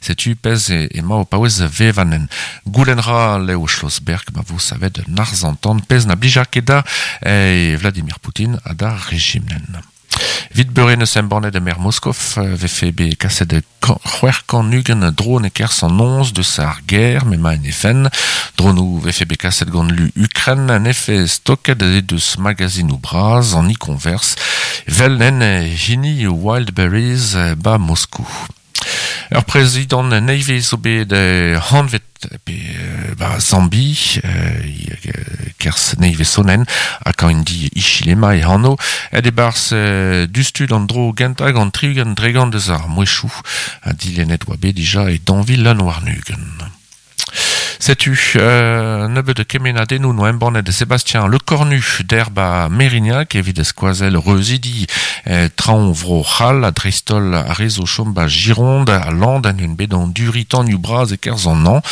Setu pezh ema o paouez vevañ Goulenn ra Leo Schlossberg ma vo savet un arz-an-tan pezh na blija ket da Vladimir Poutine ha d'ar rejimnen. Evit beure n'eus embannet e-maer Moskov vefe bet kaset 620 dron e-kerzh an noz deus ar gêr m'emañ en he fenn. Dronoù vefe bet kaset gant lu Ukren nefe stoket he deus magazinoù bras an e-converse 'vel en hini Wildberries 'ba Moskou. Ur prezidant nevez zo bet hanvet pe ba Zambi kerzh nevez sonenn ha Kaindi Hichilema e anv aet e-barzh diouzhtu d'an dro gentañ gant 60% deus ar mouezhioù ha dilennet oa bet dija e 2021. Setu nebeut kemennadennoù 'noa embannet Sébastien Lecornu d'erba Mérignac evit skoazell reuzidi traoñ Vro-C'hall ha dreist-holl ar re zo chom 'ba Gironde ha Land en un bet anduriñ tanioù bras e-kerzh an hañv.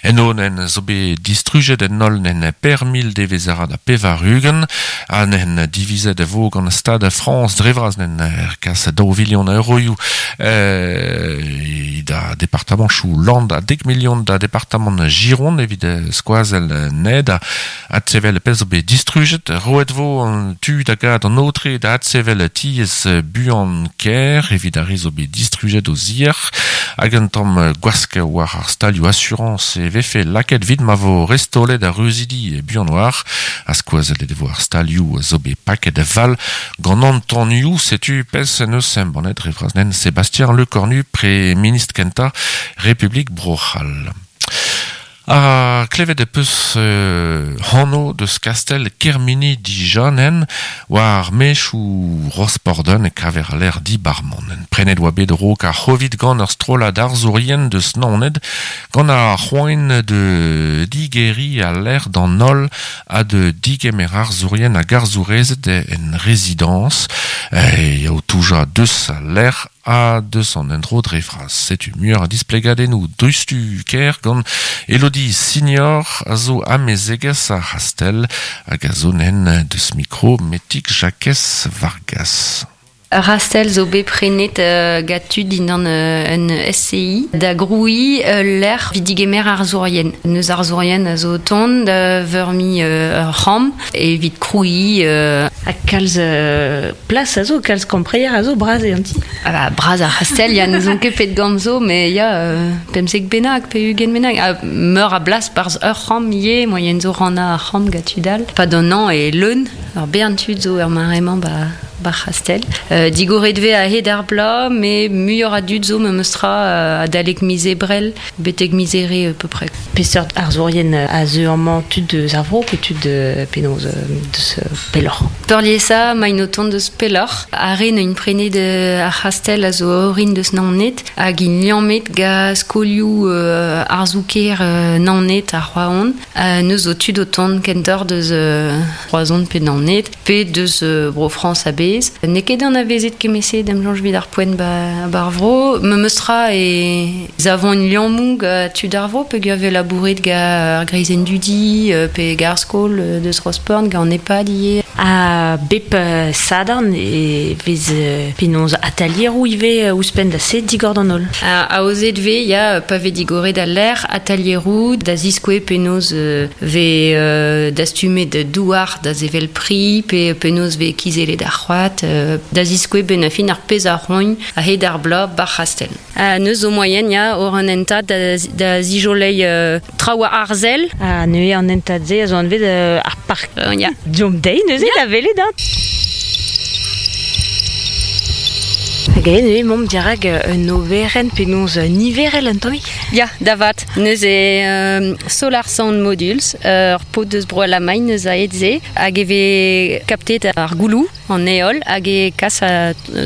Eno nen zo bet distrujet en holl nen per mil devezh-arad ha 80 ha nen divizet e vo gant Stad Frañs dre vras nen kas daou vilion a euroioù da departamanchoù Land ha dek milion da departamant Gironde evit skoazell ned ha adsevel pezh zo bet distrujet. Roet vo an tu da gad an aotre da adsevel tiez buan-kaer evit ar re zo bet distrujet o zier hag un tamm gwask war ar stalioù asurañs e vefe lakaet evit ma vo restaolet ar reuzidi buan war ha skoazellet e vo ar stalioù zo bet paket a-val Gant an tanioù, setu pezh en deus embannet dre vras-nen Sébastien Lecornu, pre-ministr kentañ Republik Bro-C'hall. Ha klevet e peus anv deus kastell Kermini dija nen war mechoù Rosporden e kaver al lec'h dibar-mañ. Prenet oa bet a-raok ar C'hovid gant ur strollad arzourien deus Naoned gant ar c'hoant de digeriñ al lec'h d'an holl ha de digemer arzourien hag arzourezed en rezidañs eo toujañ deus al lec'h ha deus an endro dre vras. Setu muioc'h a displegadennoù dreisttu-kaer gant Elodie Signor a zo amezegez ar c'hastell hag a zo nen deus mikro Metig Jakez Vargas. Ur c'hastell zo bet prenet gant tud dindan un SCI da grouiñ ul lec'h evit digemer arzourien. Neus arzourien a zo o tont da veurmiñ ur c'hamp evit krouiñ. Ha kalz plas a zo, kalz kampreier a zo, bras eo an ti. Ah bah, bras ar c'hastell, ya, n'ouzon ket pet gambr zo, mais ya, 15 bennak pe 20 bennak. Ha meur a blas barzh ur c'hamp ivez, moaien zo rannañ ar c'hamp gant tud all. Pad an hañv eo leun, ur bern tud zo er mare-mañ ba Bar c'hastell. Digoret vez a-hed ar bloaz, met muioc'h a dud zo memestra adalek miz Ebrel betek miz Here à peu près. Peseurt arzourien a zeu amañ tud eus ar vro pe tud penaos deus pelloc'h? Peurliesañ emaint o tont deus pelloc'h. Ar re n'int prenet ar c'hastell a zo orin deus Naoned hag int liammet gant skolioù arzoù-kêr Naoned ha Roazhon. Neus zo tud o tont kentoc'h deus Roazhon pe Naoned. Pe deus Bro-Frañs a-bezh. N'eo ket anavezet kement-se da'm soñj evit ar poent ba ar vro. Memes tra e savont liammoù gant tud ar vro peogwir vez labouret gant ar greizenn dudi pe gant ar skol deus Rosport, gant an EHPAD ivez. Ha bep sadorn e vez penaos atalieroù ivez ouzhpenn da se digor d'an holl. Aozet vez, ya, pa vez digoret al lec'h, atalieroù da ziskouez penaos vez dastumet douar da sevel pri pe penaos vez kizellet ar c'hoad da ziskouez benn ar fin ar pezh a roint a-hed ar bloaz ba'r c'hastell. Neus zo moaien ya o'r an hentad da zijoleiñ traoù arzel. Ha neuze an hentad-se a zo anvet ar park. Ya. Deomp dezhi neuze da welet hein. Hag aet eo emaomp dirak un oberenn penaos niverel un tammig? Ya, da vat. Neuze Solar Sound Modules, ur paotr deus Bro-Alamagn eus aet se, hag e vez kaptet ar gouloù, an heol, hag e kas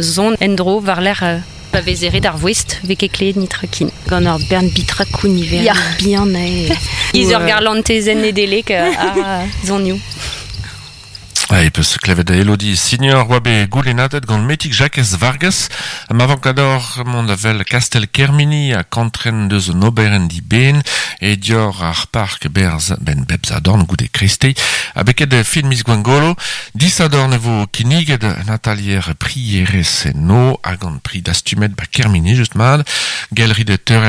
son en-dro war-lerc'h pa vez eret ar voest, vez ket klevet nitra ken. Gant ur bern bitrakoù niverel bihan eo. Giz ur garlantezenn Nedeleg a sonioù. E peus klevet Elodie Signor oa bet goulennadet gant Metig Jakez Vargas. Ma vank ador mont da wel Kastell Kermini ha kantren deus un oberenn diben e dior ar park berz ben bep sadorn goude kreisteiz ha beket fin miz Gwengolo. Disadorn e vo kinniget un atalier prierezh eno hag an pri dastumet ba Kermini just mat. Gelrit teurel